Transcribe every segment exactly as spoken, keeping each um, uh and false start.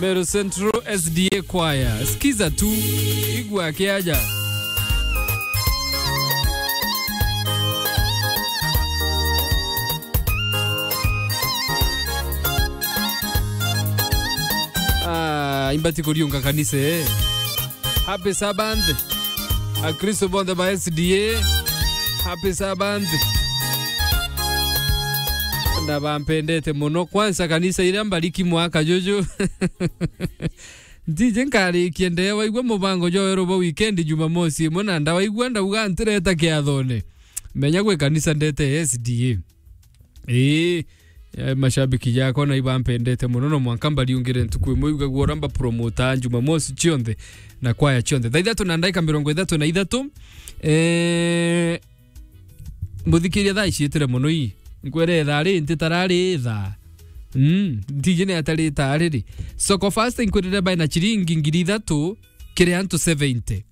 Meru Central S D A Choir. Skiza tu, igua kiaja. Ah, imbati kuriunga kanisa, eh. Happy Sabbath. Akristo bonthe ba S D A. Happy Sabbath. Na bampendete muno. Kwanza kanisa iria mbariki mwaka juju. Ntiji nkarikia ndee waigua mubango jwa weru bwa weekend Jumamosi imwe na ndawaigua ndauga ntireta kiathone. Menya gwi kanisa ndete S D A. Ii, eh, mashabiki jakwa na ibampendete muno, no mwanka mbariungire ntuku imwe, igagua uria mbapromota Jumamosi cionthe na kwaya cionthe. Thaa ithatu na ndaika mirongo ithatu na ithatu, eh, muthikiria thaa iciitire muno ii. Nkwere ithaa ri, ntitarari ithaa. Mm, ntiji ni atari ithaa riri. Soko Fast inkwirire baina ciringi ngiri ithatu kiri antu seventy.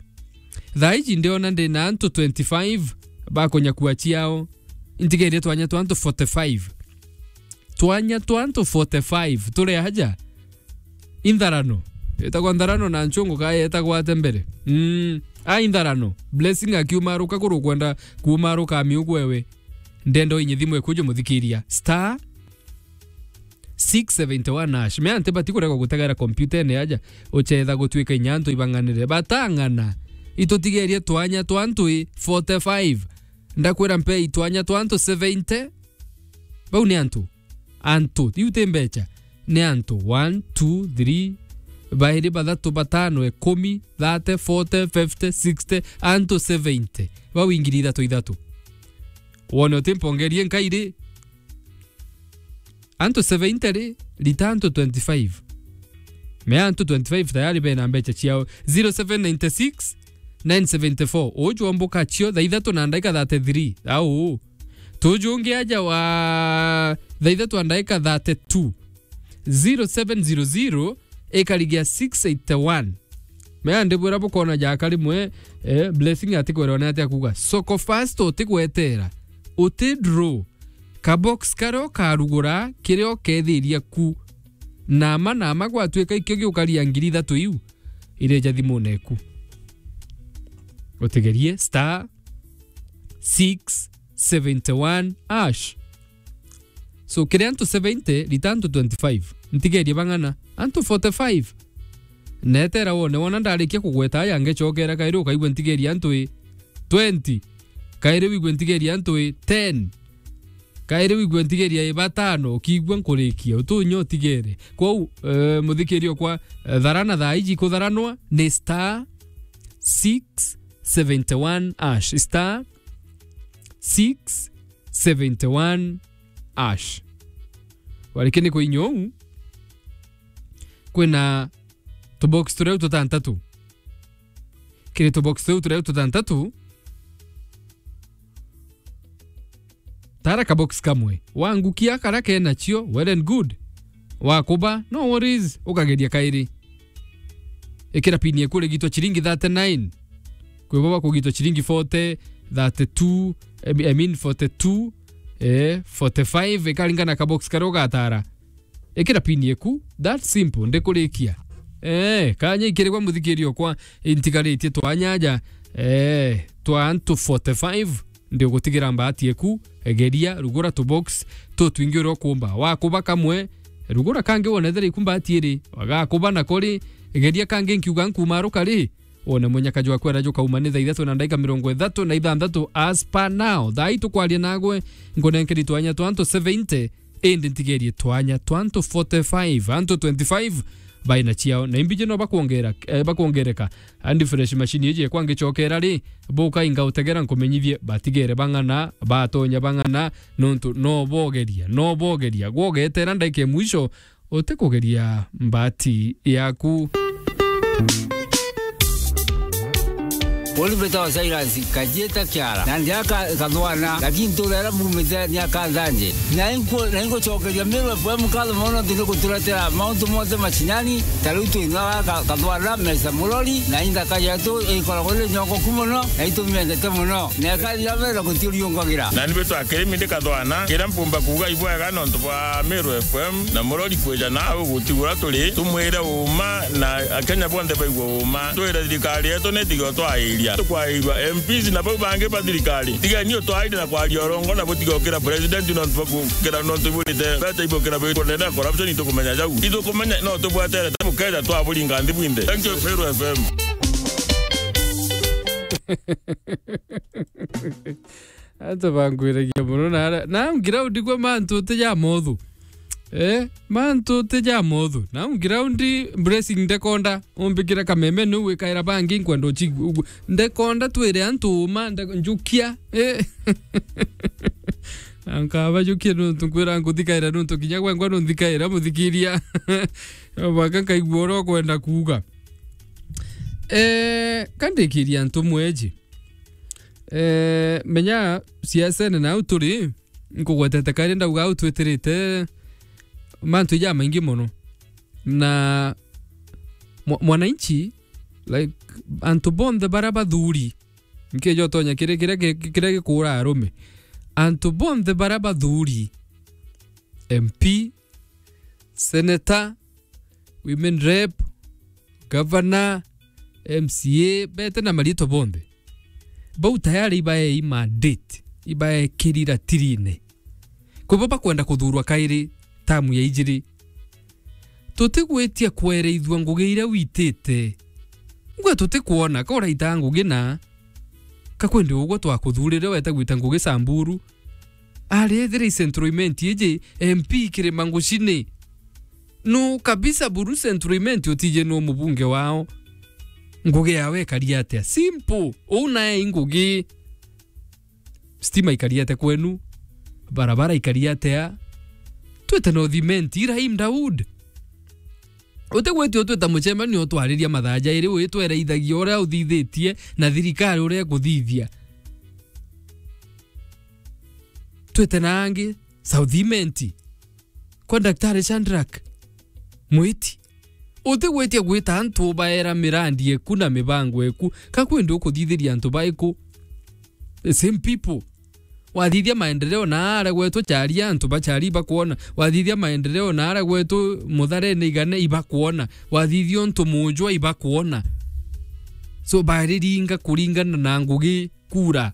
Thaa iji ndiona ndina antu twenty-five bakunyakua ciao. Intigerie twanya twa antu forty-five. Twanya twa antu forty-five. Turi aja? Intharano. Itagwa ntharano na nchungu ka yetagwa ate mbere? Mm. A intharano. Blessing akiumaruka kuru kwenda kuumaruka amiugu ewe. Ndenda inye thimu ekujo muthikiria. Star six seventy-one hash. Me anti bati kurega gutegera kompyutene aja, uchetha gutuika inya antu ibang'anire. Batang'ana. Itutigerie twanya twa antu i forty-five. Ndakwira mpe itwanya twa antu seventy. Bau ni antu. Antu. Iu ti mbecha. Ni antu. One, two, three, bairi, bathatu, batano, ikumi, thirty, forty, fifty, sixty, antu seventy. Bau ingiri ithatu ithatu. Wone utimpongerie nkairi. Antu seventy ri, rita antu twenty-five. Me antu twenty-five tayari bena mbecha ciao. Zero seven nine six, nine seventy-four. Uju omboka cio thaa ithatu na ndaika thirty-three. Au. Tuju ungi aja wa thaa ithatu na ndaika thirty-two. Zero seven zero zero ikarigia six eighty-one. Mea ndibwira bukona jaka rimwe, eh, Blessing atikwirwa ni atia kuga. Soko Fast utigwetera. Uti draw. Ka box karia ukarugura, kiria ukethiria ku. Nama, nama gwatuika ikio giukaria ngiri ithatu iu. Ireja thimune eku. Utigerie star six seventy-one hash. So, kiri antu seventy, rita antu twenty-five. Ntigerie bang'ana. Antu forty-five. Netera wone, wona ndarikia kugweta aya, ngecokera kairi ukaigua ntigerie antu i twenty. Kairi wigue ntigerie antu i ten. Kairi wigue ntigerie i batano, ukiigua nkurikia, utunye utigere. Kwou, eh, muthikirio kwa, eh, tharana thaa iji kutharanwa ni star six seventy-one hash. Star six seventy-one hash. Wariki ni kuinya uu, kwina tubox turia tutantatu. Kiri tubox tuu turia tutantatu, tara kabox kamwe. Wangukia karia kenacio, well and good. Wakuba, no worries, ukageria kairi. Ikira pini eku urigitwa ciringi thirty-nine. Kwi bo bakugitwa ciringi forty, thirty-two, I mean forty-two, eh, forty-five, ikaringana kabox karia ugatara. Ikira pini eku, that simple, ndikurikia. Eh, kanya ikirigwa muthikirio kwa intigaritie twanya aja, eh, twa antu forty-five, ndigutigirira mbati eku, egeria, rugura tu box, tutwingi uria ukumba. Wakuba kamwe, rugura kangi wone ethira iku mbati iri, wagakuba nako ri, egeria kangi nkiuga nkumaruka ri, Wone munyaka jwa kwera jukauma ni thaa ithatu na ndaika mirongo ithatu na ithanthatu as per now. Thaa ii tukwaria nagwe, nkunenkeri twanya twa antu seventy, indi ntigerie twanya twa antu forty-five, antu twenty-five baina ciao. Na imbiji no bakwongera, eh, bakwongereka. Andi fresh machine iji ekwa ngicokera ri, buka inga utegera nkumenyithie batigere bang'ana, batonya bang'ana, nontu no bogeria, no bogeria. Gwogetera ndaika ya mwisho, utikugeria mbati yaku. Uri mbitawa Silas Kajieta Kiara, na ndi aka Kathwana, lakini ntura iria mbumite ni aka Nthanje. Na ingu-, na ingucokeria Meru F M nkatho mono nontu ni guturetera mauntu monthe macinani, ta riu twina aka Kathwana, Mesa Murori, na inthaka yetu ikoragwo iri nyongoku mono, na itumendete mono. Na ikathira mbere na gutiuriungagira. Na ni bitwa kirimi ndi Kathwana, kiria mpumba kuuga ibwega nontu bwa Meru F M na Murori kwija na au gutigura turi, tumwire uma na Akenya bonthe baigua uma. Twire thirikari yetu ni tiga twairia. Tukwairua M Ps na bau bangi ba thirikari. Tigeni utwaire na kwaria urongo na butigokira president nontu bwa gukira nontu iburite. Bete ibukira bwitwa nene corruption itukumenya jau. Itukumenya no tubweterete bukeja twaburinga nthi bwinthe. Thank you, Meru F M. Antu bankwiragia mono na ara-, na ground kwa mantu ti ja mothu. Eh, mantu ti ja mothu. Na ground Blessing Ndekonda, umbikira kameme nu wikaira bangi nkwenda uchi-, ugu-, Ndekonda twire antu uma, nde-, njukia. Eh. Na nkaba jukia nuntu nkwira nkuthikaira nuntu kinya gwengwa nunthikaira muthikiria. Baka nkaigua uria ukwenda kuuga. Eh, kandikiria antu mweji. Eh, menya siasene nau turi, nkugwetete kairi ndauga au twitirite mantu jamaingi mono. Na mwa-, mwananchi, like, antu bonthe bara bathuri, nkija utonya kiri kiria ki-, kiria gikuura arume. Antu bonthe bara bathuri, M P, senator, women rep, governor, M C A, bete na mariitwa bonthe. Bau tayari ibaei mandate, ibaekiri ratirine. Kwi bo bakwenda kuthuurwa kairi tamu ya ijiri. Tutigwitia kwereithua ngugi iria witite. Ngwe tutikwona ka uraita ngugi na ka kwendi ugwe twakuthuurire weta gwita ngugi Samburu. Ari ethira i Central Imenti iji M P kirima ngucini. Nu kabisa buru Central Imenti utije nu mubunge wao. Ngugi yawe ikari atia? Simple. Uu nae i ngugi. Stima ikari atia kwenu? Barabara ikari atia? Twite North Imenti, Rahim Daud. Utigwitia utwita mucemanio utwariria mathaa jairi witwereithagia uria uthithitie na thirikari uria ikuthithia. Twite na angi South Imenti kwa Daktari Shadrack Mwiti. Utigwitia gwita antu ubaera mirandi eku na mibango eku, ka kwendi ukuthithiria antu baiku? The same people. Wathithia maendeleo na aria gwetu Charia, antu ba Charia ibakwona. Wathithia maendeleo na aria gwetu Mutharene Igane ibakwona. Wathithia untu Mujwa ibakwona. So, bariringa kuringana na ngugi kura.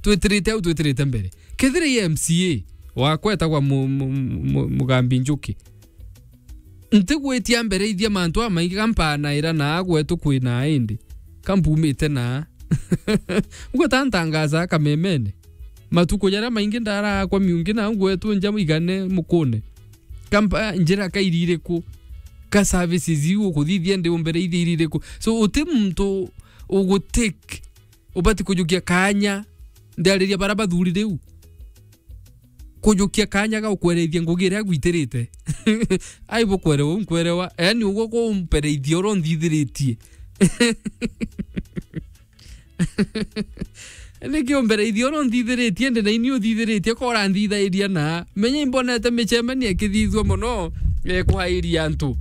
Twitirite au, twitirite mbere. Kethira i M C A wakwa etagwa mu-, mu-, mu-, Mugambi Njuki, ntigwitia mbere ithia mantu amaingi ka mpanaira na agwetu kwina indi. Ka mpumite na. Ngweta ntangaza kamemene. Matuku jaria maingi ndarakwa miungi na ngwetu nja Igane mukune. Ka mpa-, njira ka iririku? Ka services iu ukuthithia ndi umbere ithi iririku? So, uti muntu ugutake ubati kujukia kaanya, ndiariria bara bathuri riu. Kujukia kaanya ga ukwerethia ngugi iria agwitirite. Ai bukwerewa, unkwerewa. Yaani, ugwe kumpereithia uria unthithiritie. Niki umbereithia uria unthithiritie, ndi na ini uthithiritie, ko uranthithairia na. Menya imbonete micemanio ikithithua mono, eh, kwairia antu.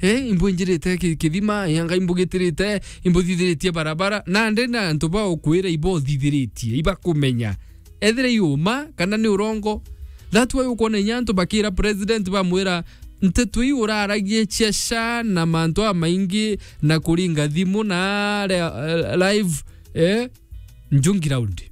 Eh, imbwinjirite ki-, kithima, eh, anga imbugitirite, imbuthithiritie barabara. Na ndi na antu ba ukwira ibo uthithiritie, ibakumenya. Ethira i uma, kana ni urongo. That's why ukwona inya antu bakira president bamwira, nteto iu uraragia cia sha na mantu amaingi na kuringa thimu na re-, eh, live, eh, Njungi Round.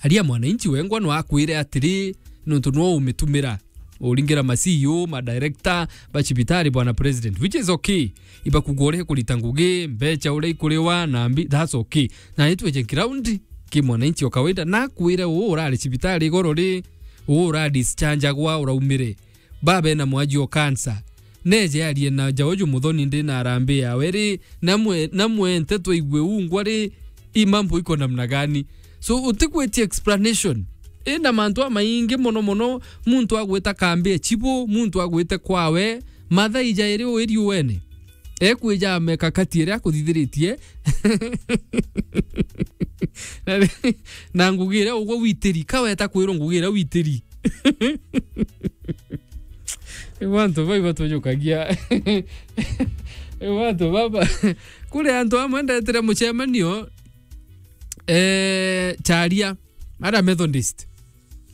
Aria mwananchi wengwa no akwire atiri, nontu no umitumira. Uringira ma C E O, ma director, ba cibitari, bwana president, which is okay. Ibakuga uria ikurita ngugi, mbecha uria ikuriwa, na mbi-, that's okay. Na itweje ground, ki mwananchi o kawaida, na akwire uu urari cibitari igoro ri, uu ura discharge agwa, uraumire. Baba ena mwaji o cancer. Neje arie na Jaoju Muthoni ndi na arambi yawe ri, namwe, namwe nteto igwe ungwa ri, i mambo iko namna gani? So, utigwitia explanation. Ina mantu amaingi mono mono, muntu agwita kambi e chibu, muntu agwite kwawe, mathaa ijairi uri riuene. Ekwija ameka kati iria akuthithiritie. Na, na ngugi iria ugwe witiri, ka weta kwirwo ngugi iria witiri. Riu antu bau ibatujukagia. Riu antu baba, kuri antu amwe ndetire mucemanio, eh, Charia, ara Methodist.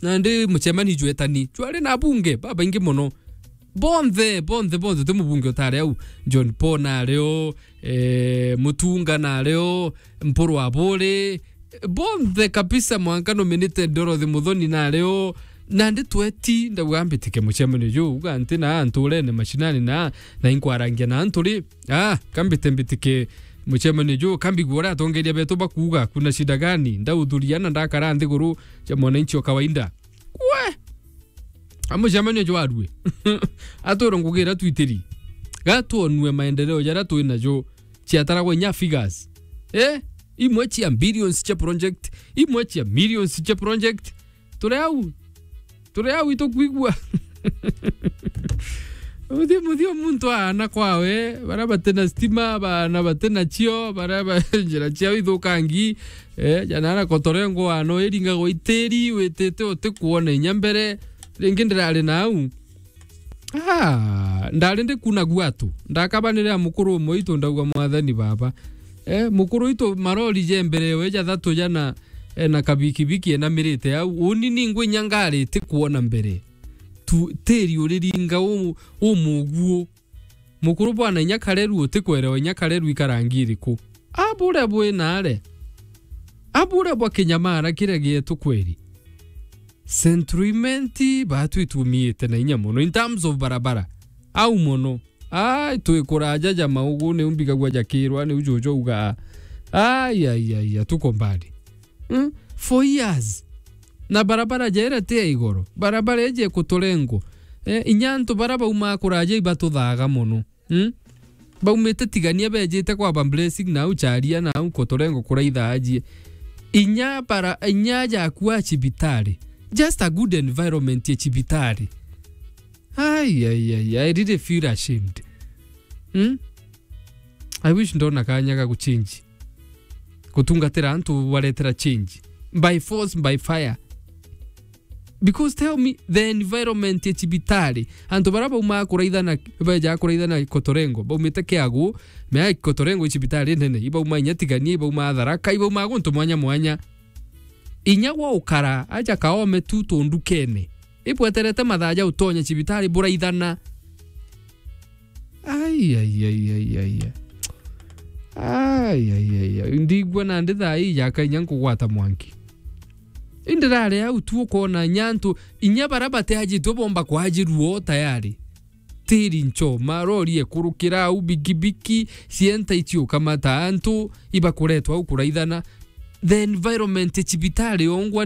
Na ndi mucemanio jwetani, jwari na abunge babaingi mono. Bonthe, bonthe, bonthe, ti mubunge utari au. John Paul nari o, eh, Mutunga nari o, Mpuru Aburi, bonthe kabisa, mwanka nominated Dorothy Muthoni nari o. Nandi tweti, ndauga mbitike mucemanio ju, uga nti na nturene mashinani na, na inkwarangia na antu ri. Ah, kambite mbitike mucemanio ju, kambigua uria atongeria betu bakuuga, kuna shida gani? Ndauthuria na ndakara nthiguru cia mwananchi wa kawaida. We! Amucemanio jwarue. Atwirwe ngugi iria twitiri. Gatwonue maendeleo jaria twi najo ciataragwa inya figures. Eh? Imwe cia billions cia project, imwe cia millions cia project. Turi au. Turi au itukwigua. Muthio, muthio muntu aana kwawe, baria batina stima, baana batina cio, baria ba-, njira ciao ithukangi, eh, jana ara Kotorengo aana iringagwa itiri, witite utikuona inya mbere. Ringi ndirari nau. Ah, ndari ndikuna gwatu. Ndakabanire a mukuru umwe witu ndauga, "Mwathani Baba." Eh, mukuru witu marori je mbere we jathatu jana, eh, na kabikibiki enamirite au. Uni ningwe inya ngari itikuona mbere. Tu, tiri uriringa u-, umuguo. Mukuru bwana inya kareru utikwerewa inya kareru ikarangi iriku. Aburia bwinare. Aburia bwa kinyamara kiria gietu kweri. Central Imenti batu itumiite na inya mono in terms of barabara. Au mono. Ai, twikuraja ja maugu, niu mbigagua jakirwa, niu juju augaa. Ai, ai, ai, ai, tuko mbali. Hmm? For years. Na barabara jere ti ya igoro. Barabara iji ikuturengo. Eh, inya antu bara baumaa kuraja ibatuthaga mono. Hmm? Baumite Tigania bejite kwaba Blessing na au Charia na au Kotorengo kuraitha ajie. Inya bara, inya jakua cibitari. Just a good environment ya cibitari. Ai, ai, ai, I really feel ashamed. Hmm? I wish ndona kanya ga guchange. Gutungatira antu baretera change. By force, by fire. Because tell me, the environment ya cibitari, antu bara baumaa kuraithana, beja kuraithana Kotorengo, baumite Kiagu, mea Kotorengo i cibitari nene, ibauma inya Tigania, ibauma Tharaka, ibauma guntu mwanya mwanya. Inya gwa ukara, aja kaome tu tundukene. Ibweterete mathaa ja utonya cibitari buraithana. Ai, ai, ai, ai, ai, ai. Ai, ai, ai, ai. Ndigua nandi thaa ii jaka inya nkugwata mwanki. Indirare au tu ukona inya antu, inya bara bateajitwe bomba kwajirua o tayari. Tiri ncho, marori ekurukira au, bikibiki, cienta icio ukamata antu, ibakuretwa au kuraithana. The environment ya cibitari yongwa